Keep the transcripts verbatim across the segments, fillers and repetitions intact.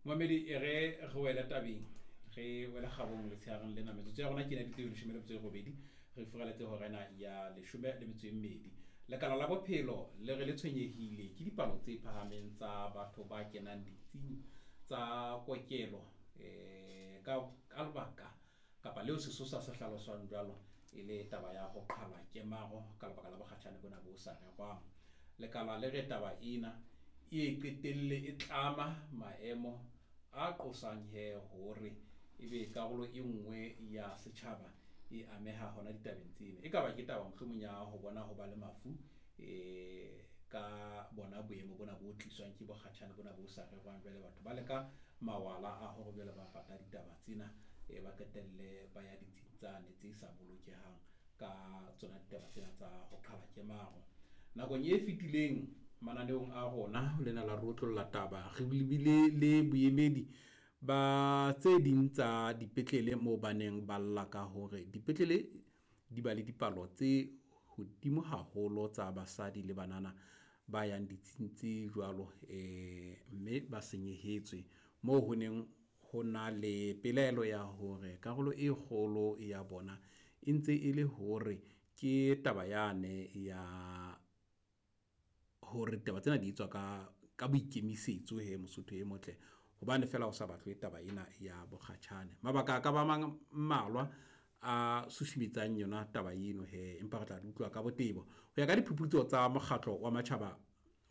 Momamedi, e re re wele tabeng, re wele kgabong letshehareng lena. Metsotso ya rona ke ena e dutse leshome le metso e robedi, re furaletse hora ena ya leshome le metso e mmedi. Lekala la bophelo le re le tshwenyehile ke dipalo tse phahameng tsa batho ba kenang ditsing tsa kokelo um ka ka lebaka kapa leo sesosa se hlaloswang jwalo e le taba ya ho qhala kemaro ka lebaka la bokgatjhane bona bo sa rerwang. Lekala le re taba ena e qetelle e tlama maemo a qosang he hore ebe karolo e nngwe ya setjhaba e ameha hona ditabeng tsena. E ka ba ke taba mohlomong ya ho bona ho ba le mafu um ka bona boemo bona bo tliswang ke bokgatjhane bona bo sa rerwang. Jwale batho ba leka mawala a hore jwale ba pata ditaba tsena, e ba qetelle ba ya ditsing tsane tse sa bolokehang ka tsona ditaba tsena tsa ho qhala kemaro. Nakong e fetileng mananeong a rona lena la re otlolla taba, re bile le boemedi ba tse ding tsa dipetlele moo ba neng ba lla ka hore dipetlele di ba le dipalo tse hodimo haholo tsa basadi le banana ba yang ditsing tse jwalo, um mme ba senyehetswe. Moo ho neng ho na le pelaelo ya hore karolo e kgolo ya bona e ntse e le hore ke taba yane ya hore taba tsena di etswa ka ka boikemisetso he Mosotho e motle, hobane feela o sa batlwe taba ena ya bokgatjhane. Mabaka a ka ba mang mmalwa a susumetsang yona taba eno hee, empa re tla di utlwa ka botebo. Ho ya ka diphuputso tsa mokgatlo wa matjhaba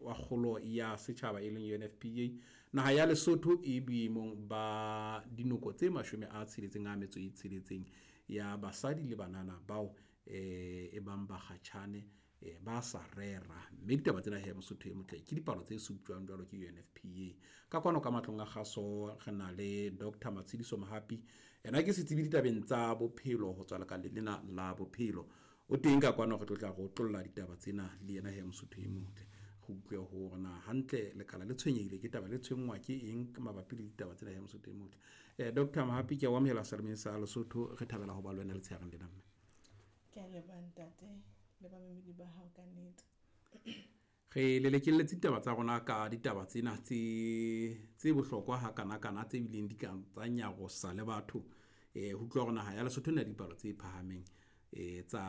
wa kgolo ya setjhaba e leng U N F P A, naha ya Lesotho e boemong ba dinoko tse mashome a tsheletseng a metso e tsheletseng ya basadi le banana bao eh e bang bakgatjhane eh ba sa rera. Mme ditaba tsena he Mosotho e motle ke dipalo tse suptjwang jwalo ke U N F P A. Ka kwano ka matlong a kgaso re na le Doctor Matshidiso Mohapi, yena ke setsebi ditabeng tsa bophelo ho tswa lekaleng lena la bophelo. O teng ka kwano, re tlo tla re otlolla ditaba tsena le yena he Mosotho e motle. Re utlwe hore na hantle lekala le tshwenyehile ke taba le tshwenngwa ke eng mabapi le ditaba tsena he Mosotho e motle. Eh Doctor Mohapi, ke a o amohela selemeng sa Lesotho, re thabela ho ba le wena letshehareng lena mme. Ke a leboha ntate le bamamedi ba hao ka nnete. Re lelekelletse ditaba tsa rona ka ditaba tsena tse tse bohlokwa hakanakana tse bileng di ka tsa nyarosa le batho. Eh ho utlwa hore naha ya Lesotho e na le dipalo tse phahameng eh tsa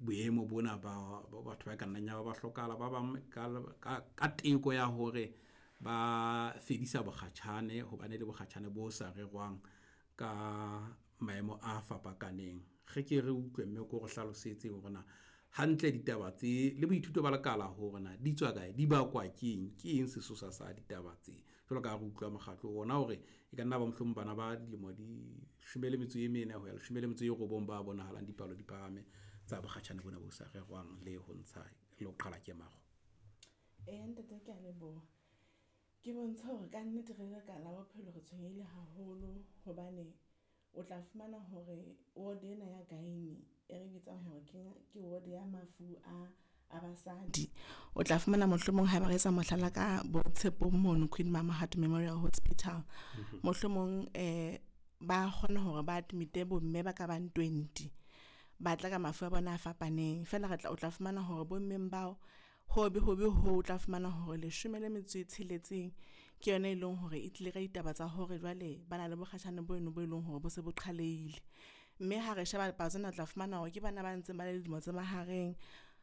boemo bona ba batho ba ka nnang ya ba ba hlokahala, ba bang ka ka teko ya hore ba fedisa bokgatjhane hobane le bokgatjhane bo sa rerwang ka maemo a fapakaneng. Re ke re utlwe mme ko re hlalosetse hore na hantle ditaba tse le boithuto ba lekala hore na di tswa kae, di bakwa ke eng, ke eng sesosa sa ditaba tse. Jwalo ka ha re utlwa mokgatlo ona hore e ka nna ba mohlomong bana ba dilemo di leshome le metso e mene ho ya leshome le metso e robong ba bonahalang dipalo di phahame tsa bokgatjhane bona bo sa rerwang le ho ntsha le ho qhala kemaro. Eya ntate, ke a leboha. Ke bontsha hore ka nnete re le lekala la bophelo re tshwenyehile haholo hobane o tla fumana hore ward ena ya gynae e re bitsang hore ke ke ward ya mafu a a basadi. O tla fumana mohlomong haeba re etsa mohlala ka bo Tshepong mono Queen Mamohadi Memorial Hospital. Mohlomong eh ba kgona hore ba admit bomme ba ka bang twenty ba tla ka mafu a bona a fapaneng. Feela re tla o tla fumana hore bo mmeng bao hobe hobe ho o tla fumana hore leshome le metso e tsheletseng ke yona e leng hore e tlile ka ditaba tsa hore jwale ba na le bokgatjhane bono bo eleng hore bo se bo qhaleile. Mme ha re sheba palo tsena o tla fumana hore ke bana ba ntseng ba le dilemo tse mahareng.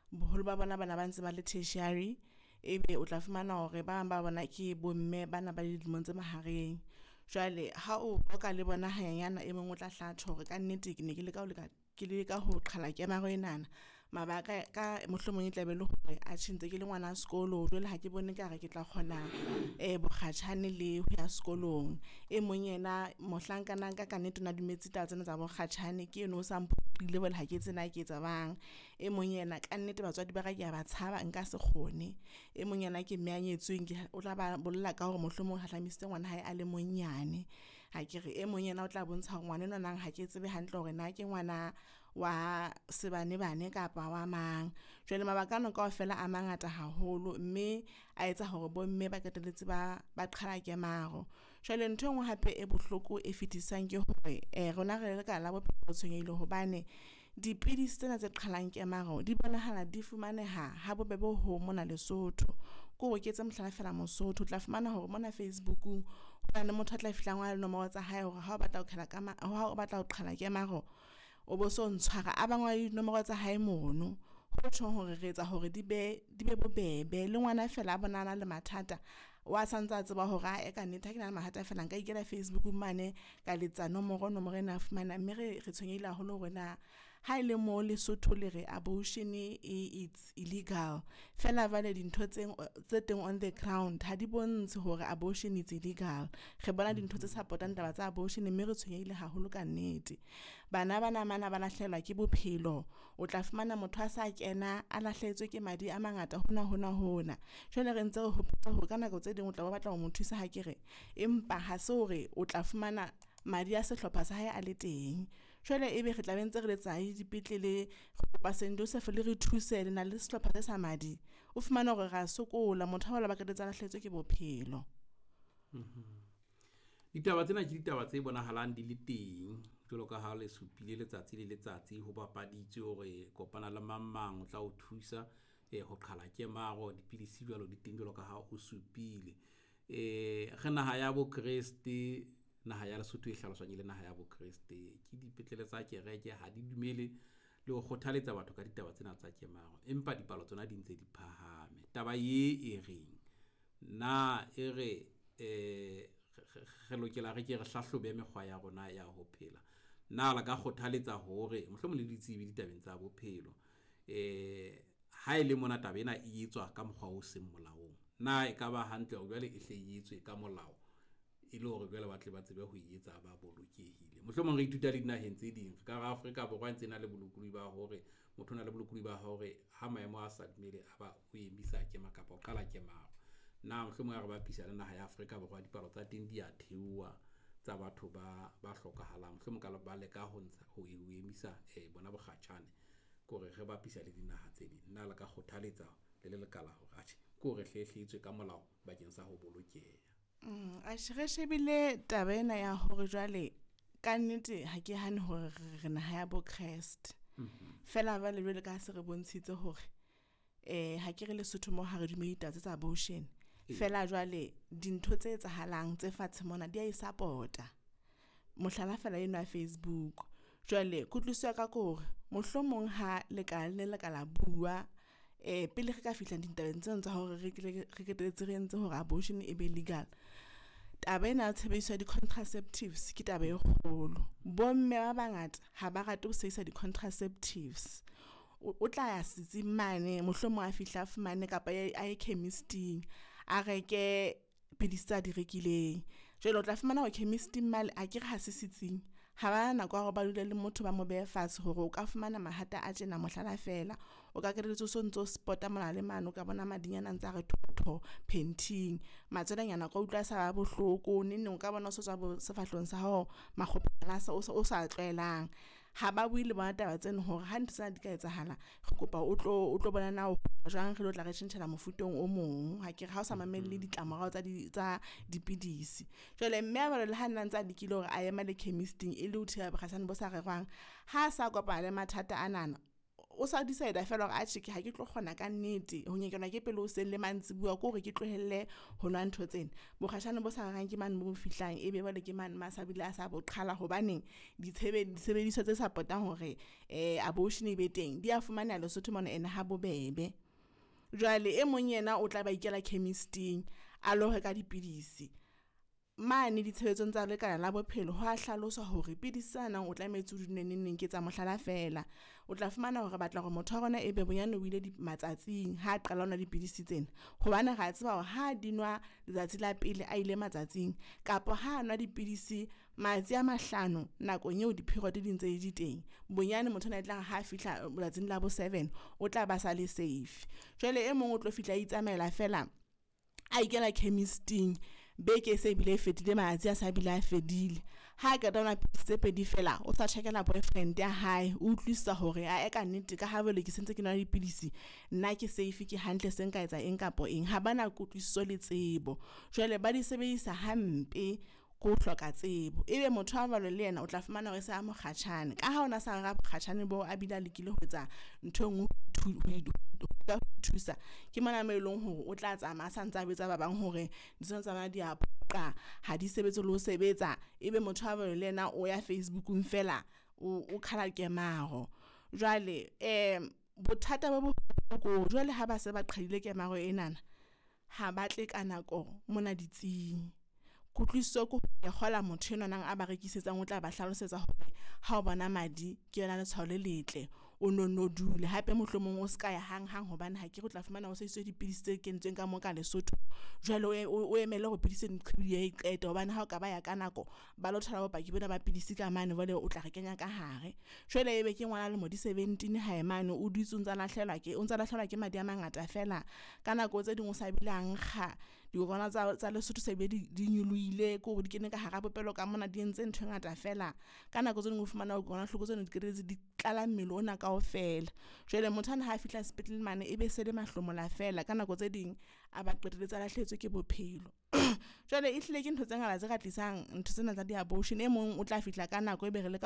Boholo ba bona bana ba ntse ba le tertiary, ebe o tla fumana hore ba bang ba bona ke bomme bana ba dilemong tse mahareng. Jwale ha o qoqa le bona hanyenyana e mong o tla hla tjho hore ka nnete ke ne ke leka ho leka ke leka ho qhala kemaro enana. Mabaka ka mohlomong e tla be le hore atjhe ntse ke le ngwana sekolo, jwale ha ke bone ekare ke tla kgona bokgatjhane le ho ya sekolong. E mong yena mohlankana ka ka nnete o na dumetse taba tsena tsa bokgatjhane ke eno o sa mphoqile jwale ha ke tsebe na ke etsa jwang. E mong yena ka nnete batswadi ba ka ke a ba tshaba, nka se kgone. E mong yena ke mme a nyetsweng o tla ba bolela ka hore mohlomong hahlamisitse ngwana hae a le monyane akere. E mong yena o tla bontsha hore ngwana enwana ha ke tsebe hantle hore na ke ngwana wa sebanebane kapa wa mang. Jwale mabaka ano kaofela a mangata haholo mme a etsa hore bomme ba qetelletse ba ba qhala kemaro. Jwale nthwe enngwe hape e bohloko e fetisang ke hore rona re le lekala la bophelo re tshwenyehile hobane dipidisi tsena tse qhalang kemaro di bonahala di fumaneha ha bobebe ho mona Lesotho. Ko o ketse mohlala fela Mosotho, o tla fumana hore mona Facebook-ung ho na le motho a tla fihlang wa nomoro tsa hae hore ha o batla ho qhala ka ha o batla ho qhala kemaro, o bo so ntshwara a ba ngole dinomoro tsa hae mono. Ho tjhong hore re etsa hore di be di be bobebe le ngwana fela a bona a na le mathata wa santsa tseba hore ae ka nnete ha ke na le mathata fela nka ikela Facebook mane ka letsa nomoro, nomoro ena fumana. Mme re re tshwenyehile haholo hore na ha ele mo Lesotho le re abortion e it's illegal fela jwale dintho tse tse teng on the ground ha di bontshe hore abortion it's illegal. Re bona dintho tse support-ang taba tsa abortion mme re tshwenyehile haholo ka nnete. Bana ba namana ba lahlehelwa ke bophelo. O tla fumana motho a sa kena a lahlehetswe ke madi a mangata hona hona hona. Jwale re ntse re hopola hore ka nako tse ding o tla be o batla ho mo thusa hakere, empa ha se hore o tla fumana madi a sehlopha sa hae a le teng. Jwale ebe re tla be ntse re letsa le dipetlele, re kopa Saint Joseph le re thuse le na le sehlopha se sa madi. O fumane hore ra sokola motho wa ba qetetse a lahlehetswe ke bophelo. Ditaba tsena ke ditaba tse bonahalang di le teng jwalo ka ha le supile letsatsi le letsatsi ho bapaditswe hore kopana le mang mang o tla o thusa eh ho qhala kemaro, dipidisi jwalo di teng jwalo ka ha o supile. Eh re naha ya bo Kreste, naha ya Lesotho e hlaloswang e le naha ya bo Kreste. Ke dipetlele tsa kereke ha di dumele le ho kgothaletsa batho ka ditaba tsena tsa kemaro, empa dipalo tsona di ntse di phahame. Taba ye e reng? Na e re eh re lokela re ke re hlahlobe mekgwa ya rona ya ho phela? Na le ka kgothaletsa hore mohlomong le ditsebi ditabeng tsa bophelo, eh ha ele mona taba ena e etswa ka mokgwa o seng molaong, na ekaba hantle hore jwale e hle e etswe ka molao e le hore jwale ba tle ba tsebe ho e etsa ba bolokehile? Mohlomong re ithuta le dinaheng tse ding. Ka hara Afrika Borwa e ntse na le bolokolohi ba hore motho o na le bolokolohi ba hore ha maemo a sa dumele a ba o emisa kema kapa o qala kemaro. Na mohlomong ha re bapisa le naha ya Afrika Borwa, dipalo tsa teng di a theoha tsa batho ba ba hlokahalang, mohlomong ka ba leka ho ntsha ho emisa bona bokgatjhane ke hore re bapisa le dinaha tse ding. Na le ka kgothaletsa le le lekala hore atjhe ke hore hle hle etswe ka molao bakeng sa ho bolokeha? Mm atjhe re shebile taba ena ya hore jwale ka nnete ha ke hane hore re naha ya bo Christ. Fela jwale jwale ka ha se re bontshitse hore eh ha ke re Lesotho mo ha re dumele ditaba tse tsa abortion. Fela jwale dintho tse etsahalang tse fatshe mona di a e support-a. Mohlala fela eno ya Facebook. Jwale kutlwisiso ya ka ke hore mohlomong ha le ka le le ka la bua pele re ka fihla ditabeng tseno tsa hore re re qetelletse re entse hore abortion e be legal. Taba ena ya tshebediso ya di-contraceptives ke taba e kgolo. Bomme ba bangata ha ba rate ho sebedisa di-contraceptives. O tla ya setsing mane mohlomong a fihla a fumane kapa a ye chemist-ing a reke pidisi tsa di rekileng. Jwale o tla fumana hore chemist-ing mane akere ha se setsing ha bana nako ya hore ba dule le motho ba mo behe fatshe hore o ka fumana mahata a tjena mohlala fela. O ka qetelletse o sontso spot-a mona le mane, o ka bona madinyana a ntsa re thotho panting. Matswelenyana o ka utlwa a sa ba bohloko neng neng o ka bona o so tswa bo sefahlehong sa hao makgopo a o sa tlwaelang. Ha ba bue le bona taba tseno hore ha ntho tsena di ka etsahala, re kopa o tlo o tlo bona na jwang re tlo tla re tjhentjhela mofuteng o mong. Akere ha o sa mamele ditlamorao tsa di tsa dipidisi. Jwale mme a le ha nna ntsa lekile hore a ye mane chemist-ing e le ho thibela bokgatjhane bo sa rerwang. Ha sa kopana le mathata anana, o sa decide fela hore atjhe ha ke tlo kgona ka nnete ho nyekelwa ke pelo hoseng le mantsibuya ke hore ke tlohelle ho nwa ntho tsena. Mokgatjhane bo sa rerwang ke mane mo fihlang, ebe jwale ke mane ma sa bile a sa bo qhala. Hobaneng ditshebetso disebediswa tse support-ang hore abortion e be teng di a fumaneha Lesotho mona ene ha bobebe. Jwale e mong yena o tla ba ikela chemist-ing a lo reka dipidisi mane ditshebetsong tsa lekala la bophelo. Ho a hlaloswa hore pidisi tsena o tlametse o di nwe neng neng. Ke etsa mohlala fela, o tla fumana hore re batla hore motho wa rona ebe bonyane o ile matsatsing ha qala ho nwa dipidisi tsena. Hobane re a tseba hore ha di nwa letsatsi la pele a ile matsatsing kapa ha nwa dipidisi matsatsi a mahlano nakong eo di-period di ntse di teng. Bonyane motho enwa e tlare ha fihla letsatsing la bo seven, o tla ba sa le safe. Jwale e mong o tlo fihla a itsamaela fela a ikela chemist-ing beke e se bile e fetile matsatsi a sa bile a fedile. Ha qeta ho nwa tse pedi fela o sa tjhakela boyfriend ya hae, o utlwisisa hore ae ka nnete ka ha jwale ke sentse ke nwa dipidisi, nna ke safe ke hantle se nka etsa eng kapa eng. Ha bana kutlwisiso le tsebo. Jwale ba di sebedisa hampe. Ke ho hloka tsebo. Ebe motho wa jwalo le yena o tla fumana hore se a mokgatjhane ka ha ona sa rera bokgatjhane bo a bile a lekile ho etsa ntho engwe ho thusa. Ke mona mo eleng hore o tla tsamaya a sa ntsa jwetsa ba bang hore ditseno tsa di a phoqa ha di sebetse le ho sebetsa. Ebe motho wa jwalo le yena o ya Facebook-ung fela o qhala kemaro. Jwale bothata bo boholo jwale ha ba se ba qhwadileng kemaro enana ha ba tle ka nako mona ditsing. Kutlwisiso ke kgola motho enwanana a ba rekisetsang o tla ba hlalosetsa hore ha o bona madi ke yona letshwao le letle, o no no dule hape mohlomong o ska ya hang-hang hobane hakere o tla fumana o sebedisitse dipidisi tse kentsweng ka mo ka Lesotho. Jwale o emele hore pidisi eno e qete hobane ha o ka ba ya ka nako ba lo thola bopaki bona ba pidisi ka mane jwale o tla re kenya ka hare. Jwale ebe ke ngwana lemo di seventeen hae mane o dutse o ntsa lahlehelwa ke o ntsa lahlehelwa ke madi a mangata fela. Ka nako tse ding o sa bile a nkga dikokwana tsa tsa Lesotho se be di di nyolohile ke hore di kene ka hara popelo ka mona, di entse ntho e ngata fela. Ka nako tse ding o fumana dikokwanahloko tsena di qetelletse di tlala mmele ona kaofela. Jwale motho ana ha a fihla sepetlele mane e be se le mahlomola fela ka nako tse ding a ba qetelletse a lahlehetswe ke bophelo. Jwale ehlile ke ntho tse ngata tse ka tlisang ntho tsena tsa di-abortion. E mong o tla fihla ka nako, ebe re leka.